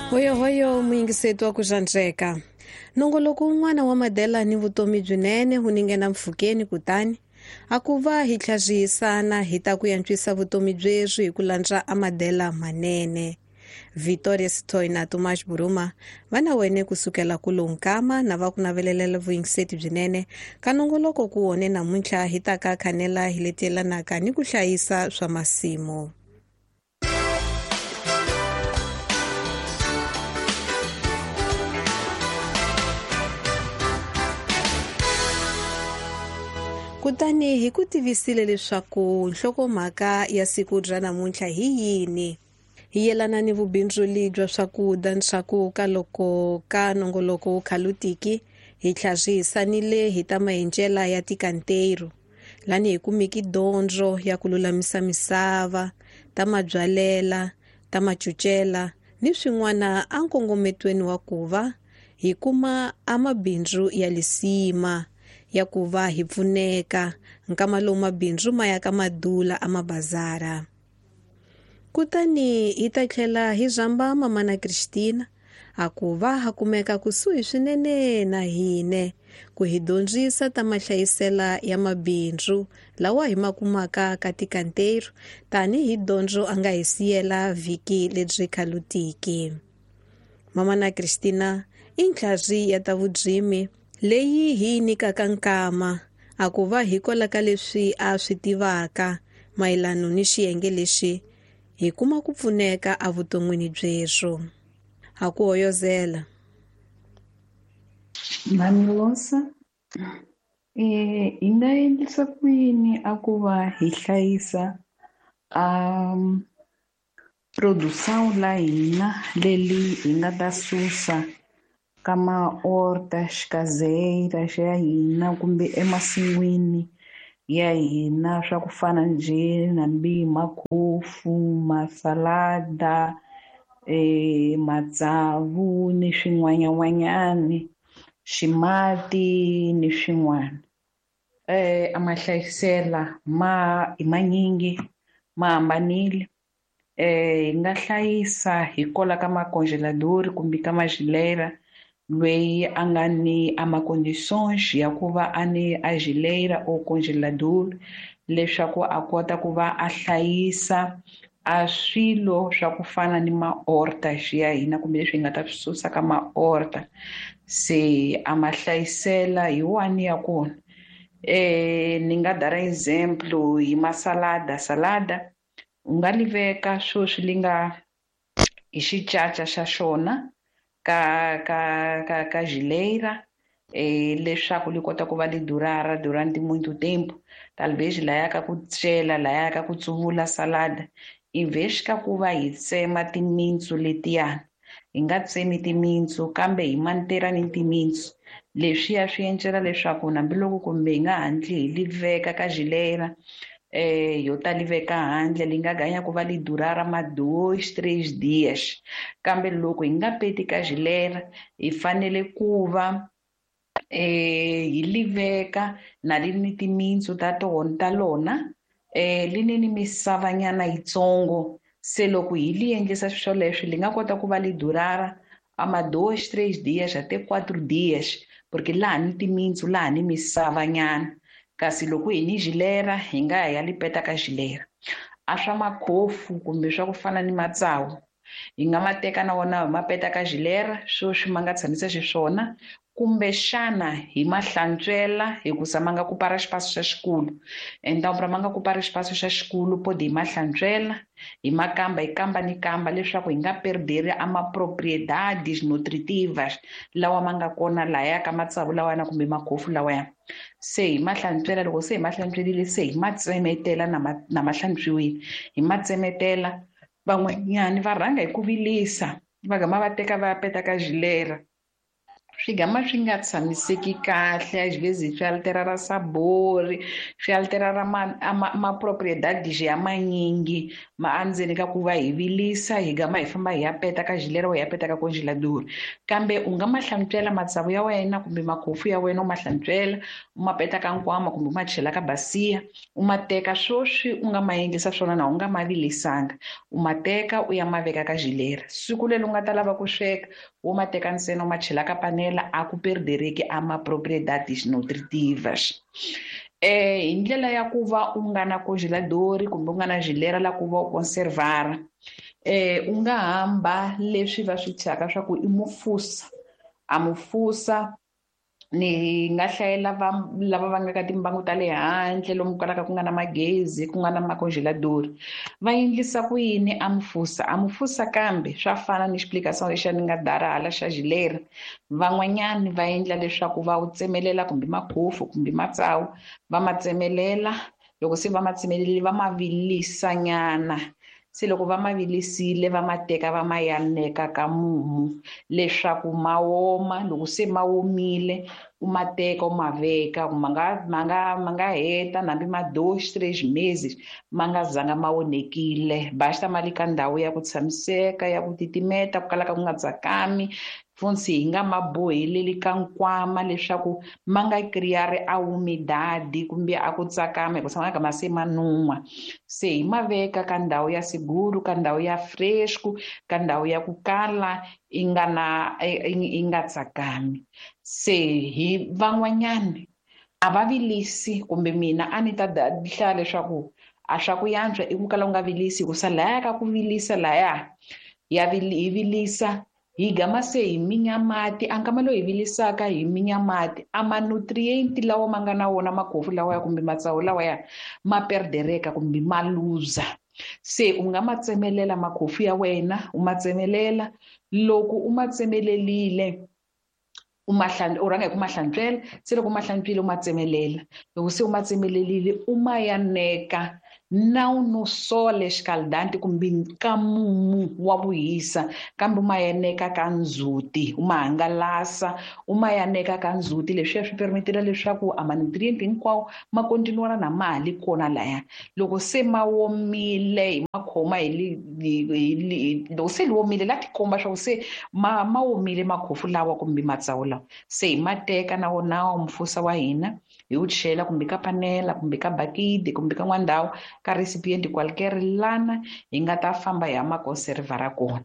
Hoyohoyo muyingiseti wa ku xandzeka. Nongoloko wun'wana wa madela ni vutomi byinene wu ningena mpfhukeni kutani a ku va hi tlhavihisana hi ta ku antswisa vutomi byeswi hi ku landza amadela manene. Victoria Sitoy na Tomas Buruma va na wene kusukela kulo nkama na va ku navelelela vuyingiseti byinene ka nongoloko ku wone namuntlha hi ta ka khanela hi leti yelanaka ni ku hlayisa swa masimu. Kutani hi ku tivisile leswaku nhlokomhaka ya siku ra namuntlha hi yini. Hi yelana ni vubindzuli bya swakudya ndzhaku ka loko ka nongoloko wu khalutiki hi tlhavihisanile hi ta maendlela ya tikanteiro lani hi kumiki dyondzo ya ku lulamisa misava ta mabyalela ta macucela ni swin'wana a nkongometweni wa ku va hi kuma a mabindzu ya lisima ya ku va hi pfuneka nkama lowu mabindzu ma ya ka madula a mabazara. Kutani hi ta tlhela hi zamba mamana Christina a ku va ha kumeka kusuhi swinene na hine ku hi dyondzisa ta mahlayisela ya mabindzu lawa hi ma kumaka ka tikanteiro tanihi dyondzo a nga hi siyela vhiki lebyi khalutiki. Mamana Christina i ntlhari ya ta vudzimi leyi hi nyikaka nkama a ku va hikwalaho ka leswi a swi tivaka mayelana ni xiyenge lexi hi kuma ku pfuneka evuton'wini byeswo. Ha ku hoyozela. Mamilosa, hi nga endlisa ku yini a ku va hi hlayisa produção la hina leli hi nga ta susa ka ma-hortas caseiras ya hina kumbe emasin'wini ya hina swa ku fana njhe nambi makhofu, masalada, matsavu ni swin'wanyan'wanyani, ximati ni swin'wana. A mahlayisela ma i manyingi ma hambanile. Hi nga hlayisa hi kola ka macongelador kumbe ka mageleira loyi a nga ni a ma-condições ya ku va a ni a geleira or congelador leswaku a kota ku va a hlayisa a swilo swa ku fana ni ma-hortas ya hina kumbe leswi hi nga ta swi susa ka ma-horta. Se a ma hlayisela hi wani ya kona. Ni nga dara example hi masalada. Salada u nga li veka sweswi li nga hi xicaca xa xona ka ka ka ka geleira leswaku li kota ku va li durara durante muito tempo. Talvez laya ka ku cela laya ka ku tsuvula salada in vez ka ku va hi tsema timintsu letiyani hi nga tsemi timintsu kambe hi mantera ni timintsu. Leswiya swi endlela leswaku hambiloko kumbe hi nga hatli hi li veka ka geleira yo ta li veka handle li nga ganya ku va li durara ma 2 3 dias. Kambe loko hi nga peti ka geleira hi fanele ku va hi li veka na li ni timintsu ta tona ta lona li ni ni misavanyana yitsongo. Se loko hi li endlisa swoleswo li nga kota ku va li durara a ma 2 3 dias até 4 dias porque laha ni timintsu laha ni misavanyana. Kasi loko hi ni geleira hi nga ya li peta ka geleira. A swa makhofu kumbe swa ku fana ni matsavu hi nga ma teka na wona hi ma peta ka geleira sweswi ma nga tshamisa xiswona kumbexana hi ma hlantswela hikusa ma nga ku para xipaso xa xikulu. Então pra ma nga ku para xipaso xa xikulu pode hi ma hlantswela hi ma kamba hi kamba ni kamba leswaku hi nga perderi a ma propriedades nutritivas lawa ma nga kona laya ka matsavu lawayana kumbe makhofu lawaya. Se hi ma hlantswela loko se hi ma hlantswerile se hi ma tsemetela na ma hlantswiwile hi ma tsemetela. Van'wanyani va rhanga hi ku vilisa va gama va teka va ya peta ka geleira Swi gama swi nga tshamiseki kahle, às vezes swi alterar sabor, swi alterar ma propriedades ya manyingi ma endzeni ka ku va hi vilisa, hi gama hi famba hi ya peta ka gilera, hi ya peta ka congelador. Kambe u nga ma hlantswela matsavu ya wena kumbe makhofu ya wena, u ma hlantswela, u ma peta ka nkwama kumbe u ma chela ka basiya, u ma teka swoswi u nga ma endlisa swona na u nga ma vilisanga, u ma teka u ya ma veka ka gilera. Siku leri u nga ta lava ku sweka, wo ma teka ntsena u ma chela ka panela, a ku perdereki a ma propriedades nutritivas. Hi ndlela ya ku va u nga na congelador kumbe u nga na gilera la ku va u conservara, u nga hamba leswi va swi thyaka swa ku i mufusa. A mufusa ni nga hlayela va lava va nga ka timbangu ta le handle lomu kalaka ku nga na magezi, ku nga na macongelador, va endlisa ku yini a mufusa? A mufusa kambe swa fana ni explication lexi ni nga dara hala xa gilera. Van'wanyani va endla leswaku va wu tsemelela kumbe makhofu kumbe matsawu, va ma tsemelela. Loko se va ma tsemelelile, va ma vilisanyana. Se loko va ma vilisile, va ma teka va ma yaneka ka mumu leswaku ma woma. Loko se ma womile, u ma teka u ma veka, ma nga heta hambi ma 2, 3 meses ma nga zanga ma onhekile. Basta ma le ka ndhawu ya ku tshamiseka, ya ku titimeta, ku kalaka ku nga tsakami. Funtsi hi nga ma boheleli ka nkwama leswaku ma nga creare a humidade kumbe a ku tsakama, hikuva ma nga se ma nun'hwa. Se hi ma veka ka ndhawu ya seguro, ka ndhawu ya fresco, ka ndhawu ya ku kala i nga na, i nga tsakami. Se hi van'wanyani a va vilisi, kumbe mina a ni ta hlaya leswaku a swa ku yantswa i ku kala u nga vilisi, hikusa laya ka ku vilisa laya ya hi vilisa hi gama se hi minya mati. A nkama lowu hi vilisaka hi minya mati, a ma-nutrient lawa ma nga na wona makhofu lawa ya kumbe matsawu lawa ya ma perdereka kumbe ma luza. Se u nga ma tsemelela makhofu ya wena, u ma tsemelela. Loko u ma tsemelelile, u ma u rhanga hi ku ma hlantswela. Se loko u ma hlantswile, u ma tsemelela. Loko se u ma tsemelelile, u ma yaneka na no sol escaldante kumbe ka mumu wa vuhisa, kambe u ma yaneka ka ndzhuti, u ma hangalasa, u ma yaneka ka ndzhuti. Leswiya swi permitela leswaku a ma-nutrient hinkwawo ma continuara na ma ha li kona laya. Loko se ma womile, hi ma khoma hi li, hi, hi, hi, loko se li womile, la tikomba swa ku se ma womile makhofu lawa kumbe matsawu lawa. Se hi ma teka na wona wa mufusa wa hina, hi wu chela kumbe ka panela kumbe ka bakiti kumbe ka n'wana ndhawu, ka recipient qualquer lana hi nga ta famba hi ya ma conservara kona.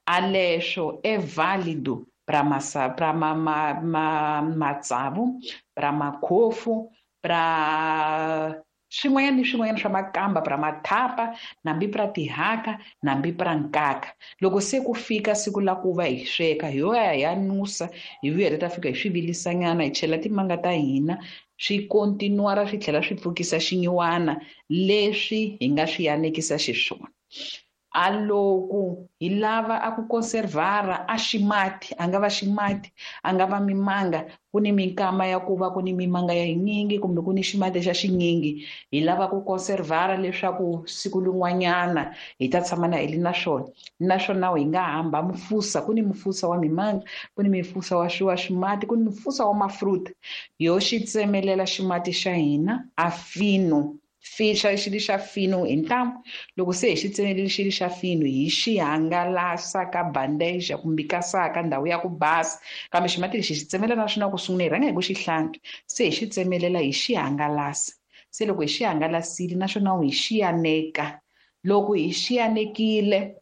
A leswo é válido pra massa, pra ma, ma, ma, matsavu, pra makhofu, pra swin'wanyana ni swin'wanyana swa makamba, pra mathapa, nambi pra tihaka, nambi pra nkaka. Loko se ku fika siku la ku va hi sweka, hi yo ya hi ya nusa, hi vuya hi ta fika hi swi vilisanyana, hi chela timanga ta hina, swi continuara swi tlhela swi pfukisa xinyiwana leswi hi nga swi yanekisa xiswona. A loko hi lava a ku conservara a ximati, a nga va ximati, a nga va mimanga, ku ni minkama ya ku va ku ni mimanga ya yinyingi kumbe ku ni ximati xa xinyingi, hi lava ku conservara leswaku siku lin'wanyana hi ta tshama na hi li na swona. Naswona hi nga hamba mufusa, ku ni mufusa wa mimanga, ku ni mufusa wa wa ximati, ku ni mufusa wa mafruta. Yo xi tsemelela ximati xa hina a fino, fixa xi li xa fino hi ntamu. Loko se hi xi tsemelele xi li xa fino, hi xi hangalasa ka bandeja kumbe ka saka, ndhawu ya ku basa. Kambe ximati lexi hi xi tsemelela na swona ku sungula hi rhanga hi ku xi hlantswa, se hi xi tsemelela hi xi hangalasa. Se loko hi xi hangalasile naswona hi xi yaneka. Loko hi xi yanekile,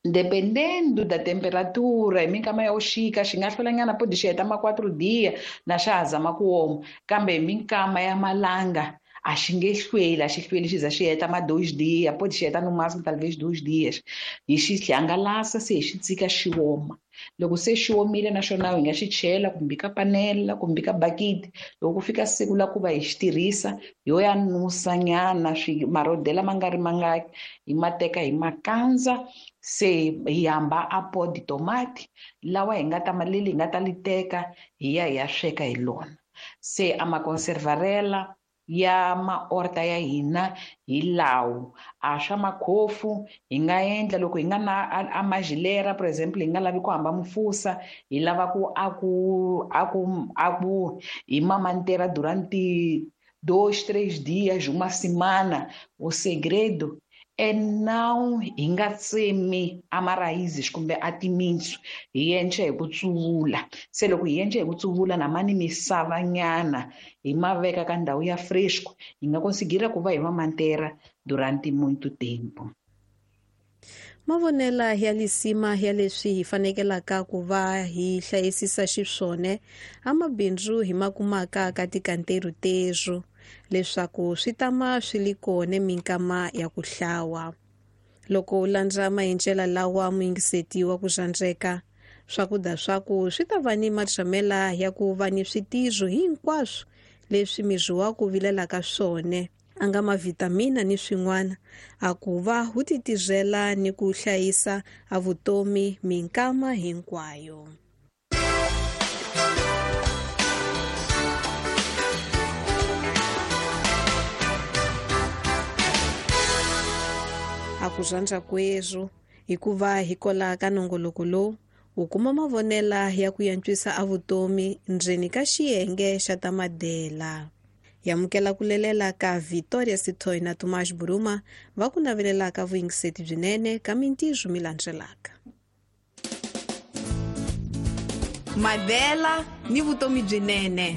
dependendo da temperatura, hi minkama ya vuxika xi nga hlwelanyana, podi xi heta ma 4 dia na xa ha zama ku oma, kambe hi minkama ya malanga a xi nge hlweli, a xi hlweli xi za xi heta ma 2 dia, podi xi heta no máximo talvez 2 dias. Hi xi hangalasa se hi xi tshika xi oma. Loko se xi omile naswona hi nga xi chela kumbe ka panela kumbe ka bakiti. Loko ku fika siku la ku va hi xi tirhisa, yo ya nusanyana swi marodela ma nga ri mangaki, hi ma teka hi ma kandza, se hi hamba a pot de tomate lawa hi nga ta ma leli hi nga ta li teka hi ya hi ya sweka hi lona. Se a ma conservarela ya maorta ya hina hi lawo. A swa makhofu hi nga endla loko hi nga na a majilera, for example, hi nga lavi ku hamba mufusa, hi lava ku a ku a ku a ku hi mamantera durante 2, 3 dias, uma semana. O segredo é não hi nga tsemi a maraízes kumbe a timitsu, hi endla hi ku tsuvula. Se loko hi endla hi ku tsuvula na mani misava nyana hi ma veka ka ndhawu ya fresco, hi nga konsigira ku va hi mamantera durante muito tempo. Mavonela ya lisima ya leswi hi fanekelaka ku va hi hlayisisa xiswona a mabindzu hi ma kumaka ka tikanteru tezo, leswaku swi tama swi li kona minkama ya ku hlawa. Loko u landza maendlela lawa muyingiseti wa ku xandzeka, swakudya swaku swi ta va ni matshamela ya ku va ni switizo hinkwaswo leswi miri wa ku vilelaka swona, a nga mavhitamina ni swin'wana, a ku va wu titizela ni ku hlayisa a vutomi minkama hinkwayo. A ku rhandza kwezwo hikuva hi kola ka nongoloko lowu u kuma mavonela ya ku yantswisa a vutomi ndzeni ka xiyenge xa ta madela. Yamukela ku lelela ka Victoria Sithoi na Tomás Buruma va ku navelelaka vuyingiseti byinene ka mintirho mi landzelaka. Madela ni vutomi byinene.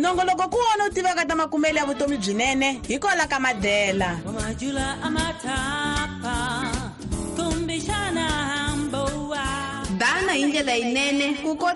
Nongoloko ku wona u tivaka ta makumelo ya vutomi byinene hi kola ka Madela. Dana hi ndlela yinene ku